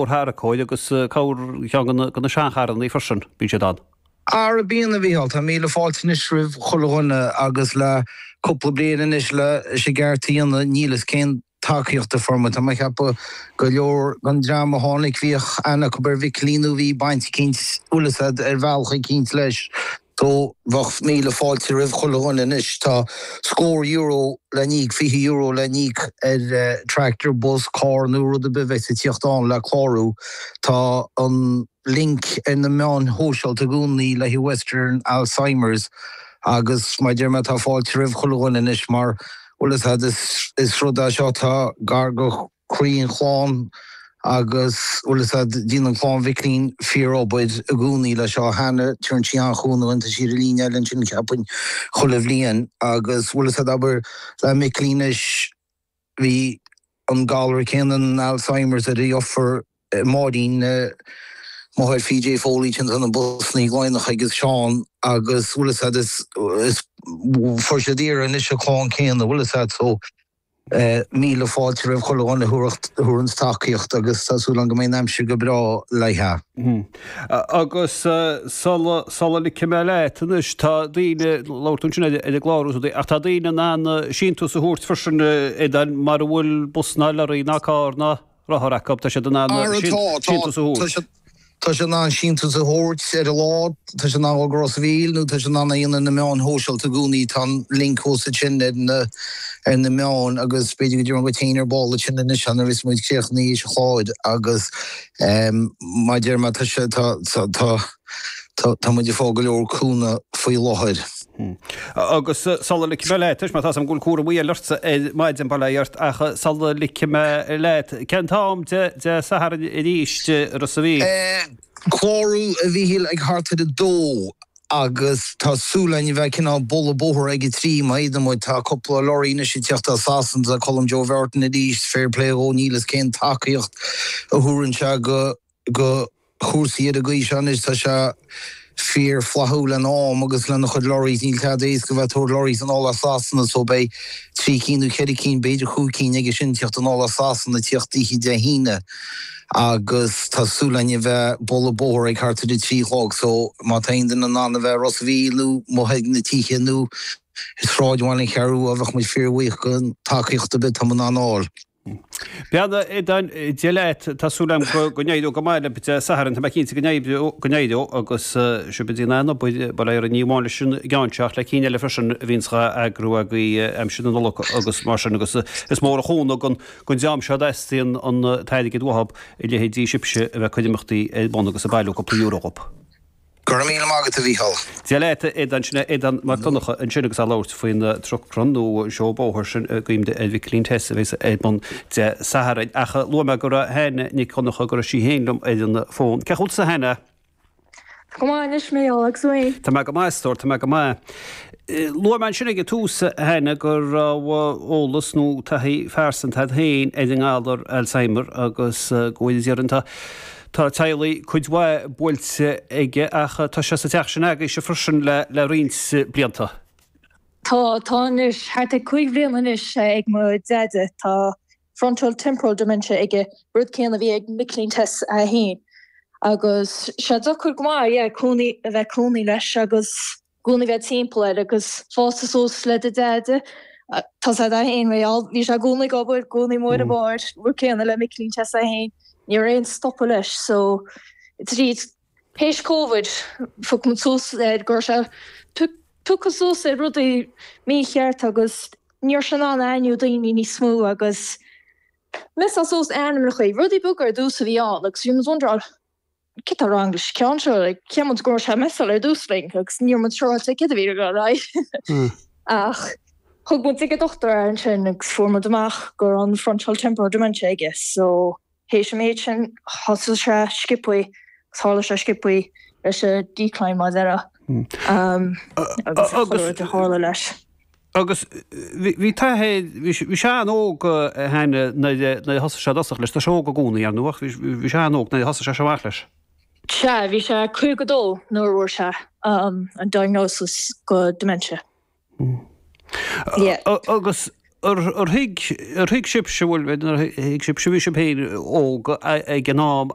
tharracóir agus cabhair cheann de na seancharrannaí freisin, bíonn siad ann. Ara bíonn, a Mhícheáil. Tá míle fáilte anois roimh chuile dhuine agus le cúpla bliain anois leis an gceart a dhéanamh níl fhios cén tacaíocht a fuair muid. Tá mé ag ceapadh go leor den dream a tháinig bhíodh aithne acu ar Mhicilín nó bhí baint eicínt, bhfuil fhios a'd, ar bhealach eicínt leis. So bheadh míle fáilte roimh chuile dhuine anois. Tá scór euro le n-íoc, €20 le n-íoc ar tractor, bus, carr nó rud ar bith a bheas ag tíocht ann le clárú. Tá an link ar na meáin shóisialta i gcónaí le haghaidh Western Alzheimer's agus mar a deir mé tá fáilte roimh chuile dhuine anois mar bhfuil fhios a'd is rud é seo atá gar go croí an chlann agus bhfuil fhios a'd déanann clann Mhicilín fíor-obair i gcónaí leis seo. Hannah, tugann sí an-chúnamh dúinn, tá sí ar an líne eile ansin cheapfainn chuile bhliain agus bhfuil fhios a'd abair le Micilín anois bhí an galar céanna an Alzheimer's ar a dheirfiúr Máirín, máthair PJ Foley sin atá na busannaí Laighneach agus Seán agus bhfuil fhios a'd is is fuair siad iarraidh anois an chlann céanna bhfuil fhios a'd so Míle fáilte roimh chuile dhuine a thabharfas tacaíocht agus tá súil agam go mbeidh an aimsir go breá léithe. Agus sula sula ligfidh mé leat anois, tá daoine, labhair tú ansin ar an gclárú is rudaí, ach tá daoine in ann síntiús a thabhairt freisin, Aodán, mara bhfuil bus ná lorry ná carr ná rothar acu, tá siad in ann síntiús a thabhairt. Tá siad in ann síntiús a thabhairt ar an lá, tá siad in ann dul go Ros a' Mhíl nó tá siad in ann é a dhéanamh ar na meáin shóisialta i gcónaí. Tá an link thuas ansin ar na ar na meáin agus b'fhéidir go dtabharfainn dhuit féin ar ball ansin anois nuair a bheas muid críochnaithe leis an chlár agus mar a deir mé tá sé tá tá tá tá muid ag fáil go leor cúnamh faoi láthair. Agus sula ligfidh mé leat, mar tá 's agam go bhfuil cúramaí eile ortsa ar maidin, bail ó Dhia ort, ach sula ligfidh mé leat, cén t-am Dé Sathairn arís i Ros a' Mhíl? Clárú, a Mhíchíl, ag thart ar a dó agus tá súil againn a bheith cineál bualadh bóthar ag a trí má fhéadann muid. Tá cúpla lorry anois ag tíocht as Sasana, tá Colm Joe Bheartain arís, fair play dhó, níl fhios cén tacaíocht a thabharann sé go go chúrsaí ar an gcaoi seo anois. Tá sé fíor flaithiúil lena am agus lena chuid lorries. Níl tada éasca bheith ag tabhairt lorries anall as Sasana so beidh trí cinn nó ceithre cinn, b'fhéidir chúig cinn aige sin tíocht anall as Sasana tíocht oíche Dé hAoine agus tá súil againn a bheith bualadh bóthar ag thart ar a trí a chlog so má tá aon duine in ann a bheith i Ros a' Mhíl nó amuigh ag na tithe nó i sráidbhaile an Cheathrú Rua bheadh muid fíor bhuíoch den tacaíocht ar bith atá muid in ann a fháil. Beannacht Dé leat, tá súil agam go n-éireoidh go maith libh Dé Sathairn, tá mé cinnte go n-éireoidh agus sibh ag déanamh an-obair, bail ó Dhia oraibh, ní amháin leis an gceann seo ach le cinn eile freisin a bhíonns dhá eagrú agaibh aimsir na Nollag agus mar sin agus is mór an chúnamh don dream seo a dteastaíonn an t-airgead uathu a leithéidí sibhse a bheith ag cur imeachtaí ar bun agus ag bailiú cúpla euro dhóibh. Go raibh míle maith agat, a Mhícheál. Dia leat, a Aodáin, sin é Aodán Mac Donncha ansin agus é ag labhairt faoin truck run nó an seó bóthair sin i gcuimhne ar Mhicilín Tess a bheas ar bun Dé Sathairn. Ach luaigh mé go raibh Hannah Nic Dhonncha, go raibh sí féin liom ar an bhfón. Cén chaoi a bhfuil tusa, a Hannah? Go maith anois, a Mhícheál, agus tú féin? Tá mé go maith, a stór, tá mé go maith. Luaigh mé ansin ag an tús, a Hannah, go raibh eolas nó taithí phearsanta agat féin ar an ngalar Alzheimer agus go bhfuil, déarfainn, tá Tá teaghlaigh cuid mhaith buailte aige ach tá sé sa teach sin agaibhse freisin le roinnt blianta. Tá, tá anois, thart ar 5 bhliain anois ag mo Deaide. Tá frontal temporal dementia aige, rud céanna a bhí ag Micilín Tess é féin. Agus sé deacair go maith, yeah, cónaí, a bheith cónaí leis agus. gcónaí bheith timpeall air agus fásta suas le do Deaide. Tá sé é féin mar gheall, bhí sé i gcónaí ag obair, i gcónaí amuigh ar an bóthar, rud céanna le Micilín Tess é féin, ní raibh aon stopadh leis so tríd théis Covid phioc muid suas air go raibh sé piocadh suas ar rudaí mícheart agus ní raibh sé in ann aithniú daoine níos mó agus mess-áil suas ainmneacha, rudaí beaga ar dtús a bhí ann agus bhí muid wonderáil céard tá wrong leis an ceann seo, like, cheap muid go raibh sé ag mess-áil ar dtús linn agus ní raibh muid siúráilte céard a bhí ag dul ar aghaidh. Ach thug muid ag an dochtúir é ansin agus fuair muid amach go raibh an frontal temporal dementia aige so théis an méid sin thosaigh sé sciobthaí agus tharla sé sciobthaí leis an decline mar a déarfá agus chuile rud a tharla leis. Agus bhí taithí, bhí sé an-óg a Hannah nuair a thosaigh sé i dtosach leis, tá sé óg i gcónaí ar ndóigh ach bhí sé an-óg nuair a thosaigh sé seo amach leis. Sea, bhí sé 52 nuair a fuair sé an diagnosis go dementia. Yeah. Agus. Ar thuig, ar thuig sibhse, bhuel, ar thuig sibhse, bhí sibh féin óg ag an am.